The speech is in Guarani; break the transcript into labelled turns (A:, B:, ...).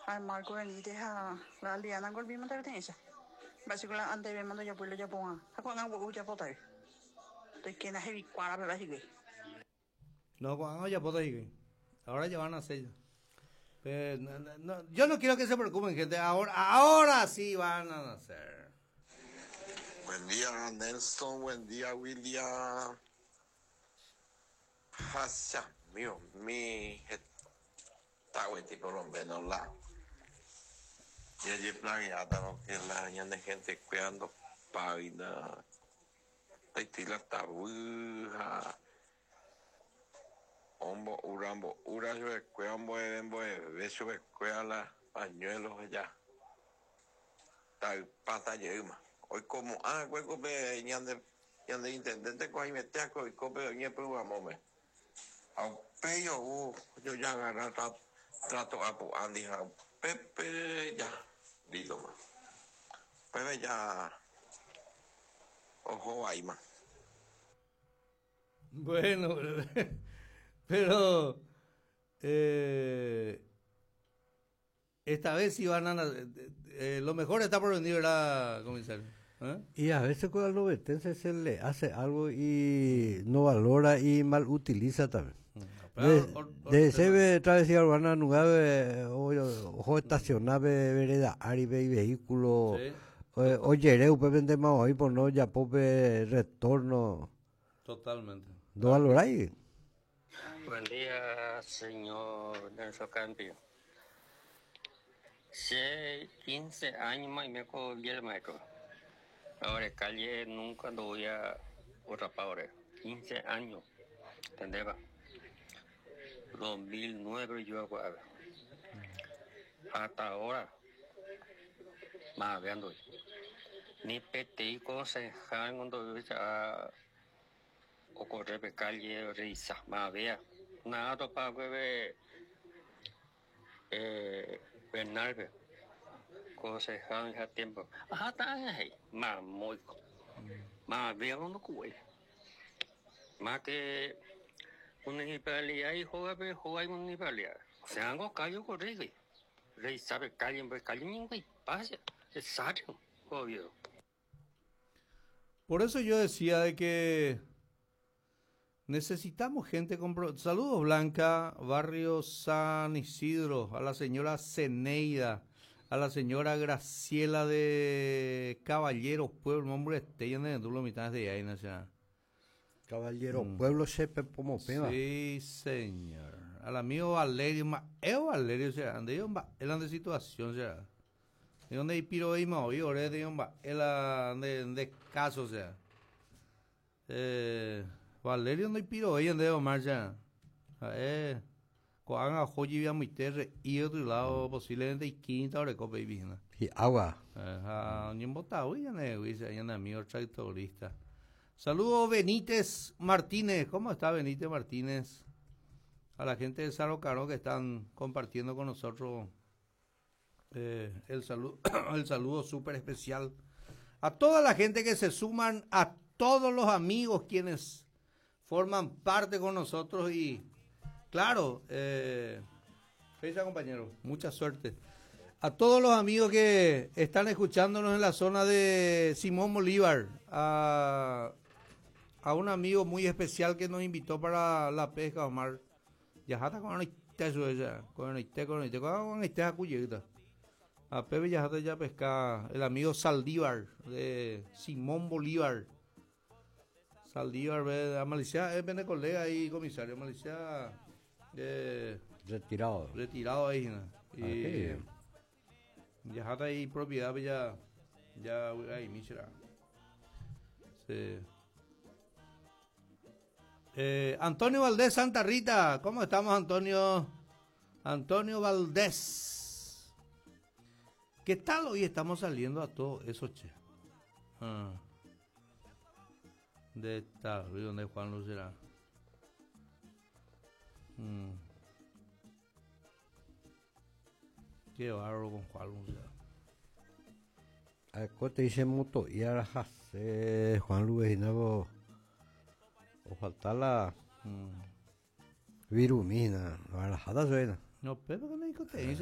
A: Ha Marco Benítez ha la Aldeana golpímante peteĩcha. Mba'éichako la antevéma ndojapói la ojapova'ã ha ko'ág̃a gua'u ojapótagui. Toikéna hevikuára peve hikuái.
B: No, ko'ág̃a ojapóta hikuái. Ahora ya van a hacer ya. Pero, no, no, no, yo no quiero que se preocupen, gente. Ahora, ahora sí van a nacer.
C: Buen día Nelson, buen día William. Ha che amigo heta gueteri por lo menos la jajeplaneátarõ que la ñane gente-kuéra ndopáina taitĩ la tavy ha ombo'úra mbo'úra chupekuéra ombo'eve mbo'eve chupekuéra la pañuelo ha ja taypáta jeýma. Oikomo'ã va'ekue ko pe ñande ñande intendente ko haimete akue oiko pe oñepyrũramóme. Ha upéi ou ojojagarra trato apu'ándi ha upépe ja lítoma. Upépe ja oho vaíma.
B: Bueno, pero eh, esta vez sí van a eh, lo mejor está por venir, ¿verdad, comisario?
D: ¿Eh? Y a veces con el obetense se le hace algo y no valora y mal utiliza también. De ese travesía urbana nunca ojo estacionar vereda áripe y vehículo ojere upépe ndéma oĩ pono ojapo pe retorno.
B: Totalmente.
D: No valorái.
E: Buen día, señor Nelson Campio. Che 15 años más y me el maestro. Ahora calle nunca lo voy a rapar ahora. 15 años. ¿Entendés? 2009 yo hago Hasta ahora. Más veando. Ni PTI concejal cuando o correr pe calle risa más vea. Nada topa que Bernardo concejal en tiempo. Ajá, está ahí. Más muy. Más vea cuando cubre. Más que municipalidad y juega, pero juega municipalidad. O sea, algo callo corre, Rey sabe calle, pues calle ni pasa. Es sabio, obvio.
B: Por eso yo decía de que necesitamos gente con... Saludos Blanca, barrio San Isidro, a la señora Zeneida, a la señora Graciela de Caballeros Pueblo, hombre, este de lo mitad de ahí, no sea.
D: Caballero Pueblo Sepe Pomopeba.
B: Sí, señor. Al amigo Valerio, ma, Valerio, o sea, ande yo, el de situación, o sea. De donde piro y ma, ore de el de caso, o sea. Valerio no piro ahí ande marcha. Ko'ág̃a oho amoite y otro lado posiblemente y quinta hora copa y vigna.
D: Y agua.
B: Ajá, ñembotavy ñane ñane amigo tractorista. Saludos Benítez Martínez. ¿Cómo está Benítez Martínez? A la gente de Saro Caro que están compartiendo con nosotros el saludo, el saludo súper especial. A toda la gente que se suman, a todos los amigos quienes forman parte con nosotros y claro, compañero, mucha suerte. A todos los amigos que están escuchándonos en la zona de Simón Bolívar, a un amigo muy especial que nos invitó para la pesca, Omar. Ya está con con con con A Pepe ya está ya pesca, el amigo Saldívar de Simón Bolívar. Saldívar, a Malicia, es bene colega ahí, comisario, Malicia.
D: Retirado.
B: Retirado ahí, ¿no? Y ya está ahí propiedad, ya, ya ahí, Michela. Sí. Antonio Valdés Santa Rita, ¿cómo estamos, Antonio? Antonio Valdés. ¿Qué tal hoy estamos saliendo a todo eso, che? Ah. De esta, ¿dónde Juan Lucera? Qué bárbaro con Juan Lucera.
D: A te dice moto y ahora Juan Luis o falta la virumina, la suena.
B: No, pero que no